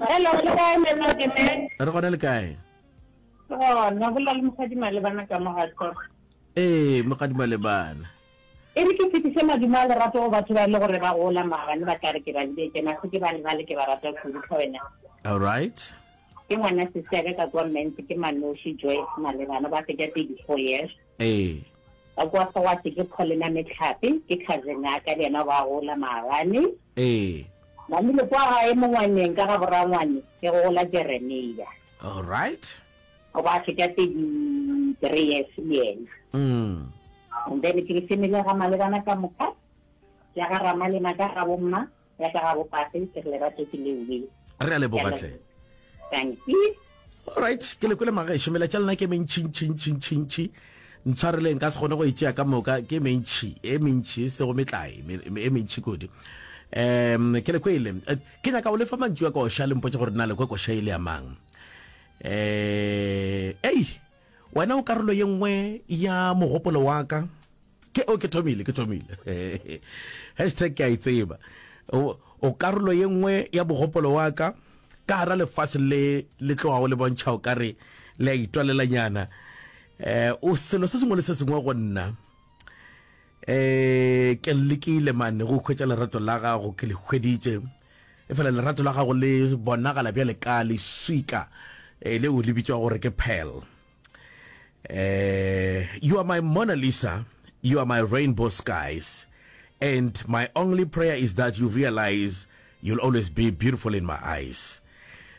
Hello, le kae Mama Keme? Re gona le kae? Gona, bolela le mosadi Malebana ka mo ga Tlhoro. Ee, mokgadi Malebana. E re ke fetiše madumo a lerato go batho ba e le gore ba gola maabane ba tla re ke ba lebetše, mase ke ba lebale ke ba rata kudu tlhe wena. All right. Ke ngwana sesi ya ka ka kwa Mentsi ke Manoši Joyce Malebana ba fetša 34 years. Ee. Ka kwa Segwatse ke Paulina Metlhape ke cousin ya ka le yena ba gola maabane. Ee. Namile kwa gae mongwaneng ka ga borangwane ke go gola Jeremia. All right. O ba fetša 33 years le yena. Mm. And then ke family ya ga Malebana ka moka, ya ga Ramalema ka ga bomma, ya ka ga bopate, ke re lerato ke lewe. Re a leboga hle. Thank you. Alright, ke le kwele magešo, melatša lena ke mentšintšintšintšintši. Ntshwareleng ka se kgone go e tšea ka moka, ke mentši, e mentši, e sego metlae, e mentši kudu. Um, ke le kwele. Eh, ke nyaka go lefa mantšu a koša le mpotše gore na le kwe koša e le ya mang. Eh, ei, wena o karolo ye nngwe ya mogopolo wa ka. Ke, o, ke thomile, ke thomile. Hashtag ke a e tseba. O, o karolo ye nngwe ya mogopolo wa ka ka gara lefase le le tlogago le bontšha o ka re le a itwalelanyana. Eh, o selo se sengwe le se sengwe go nna. Eh, ke lekile mane go hwetša lerato la gago, ke le hweditše. Efela lerato la gago le bonagala bjale ka leswika eh, leo le bitšwa gore ke pearl. Eh, you are my Mona Lisa, you are my rainbow skies, and my only prayer is that you realize you'll always be beautiful in my eyes.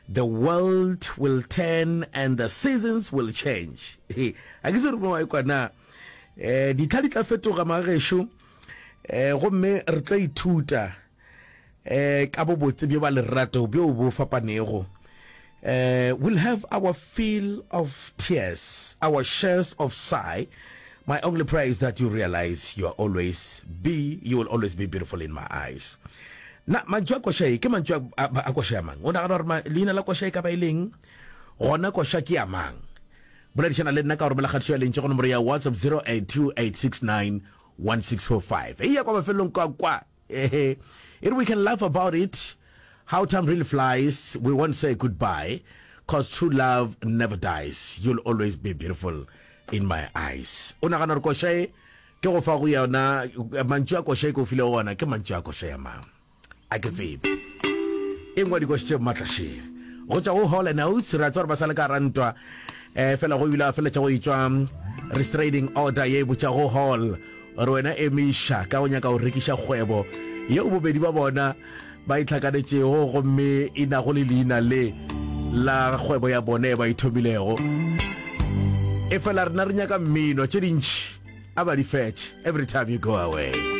The world will turn and the seasons will change. A ke se re mo wa ikwa na. Eh, ditlha di tla fetoga magešo, eh, gomme re tlo ithuta eh, ka bobotse bjo ba lerato bjo bo fapanego. Eh, we'll have our fill of tears, our shares of sigh. My only prayer is that you realize you are always be, you will always be beautiful in my eyes. Na mantšu a koša e ke mantšu a, a, a koša ya mang? O nagana gore leina la koša e ka ba e leng? Gona koša ke ya mang? Boledišana le nna ka go romela kgatišo ya lentšu go nomoro ya WhatsApp 0828691645. Eya kwa mafelelong kwa kwa. Ehe, e re we can laugh about it, how time really flies, we won't say goodbye, cause true love never dies, you'll always be beautiful in my eyes. O nagana gore koša e ke go fa go yona, mantšu a koša e ke o filego gona ke mantšu a koša ya mang? A ke tsebe. E nngwe ya dikoši tše maatla še. Go tšwa go Hall and Oates, re a tseba gore ba sa le ka gara ntwa, eh, fela go ebile a feletša go etšwa restraining order ye e botšago Hall gore wena emiša ka go nyaka go rekiša kgwebo yeo bobedi ba bona ba itlhakanetšego gomme e nago le leina le la kgwebo ya bone e ba e thomilego. Efela rena re nyaka mmino, tše dintši a ba di fetše every time you go away.